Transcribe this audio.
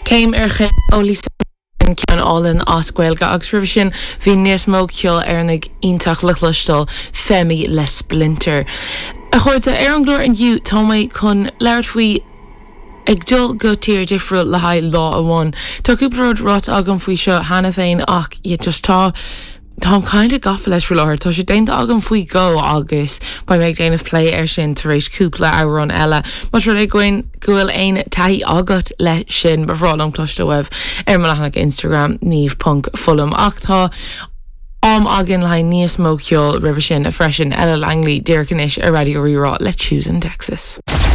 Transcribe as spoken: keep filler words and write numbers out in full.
Céim ar Chéim ó Lisa ceann álainn as Gaeilge agus roimhe sin bhí níos mó ceol Éireannach iontach le cloisteáil Femi le Splinter. A chairde ar an gclár inniu tá mé chun labhairt faoi ag dul go tír difriúil le haghaidh lá amháin. Tá cúpla rud ráite agam faoi seo cheana féin ach just tá Tá kind of gafa leis faoi láthair, Tá sé déanta agam faoi dhó agus beidh mé ag déanamh plé air sin tar éis cúpla amhrán eile. Más rud é go bhfuil aon taithí agat le sin ba bhreá liom cloisteáil uaibh ar mo leathanach Instagram niamh.fullam ach tá am againn le níos mó ceol roimhe sin freisin Ella Langley díreach anois ar Raidió Rí-Rá le Choosing Texas.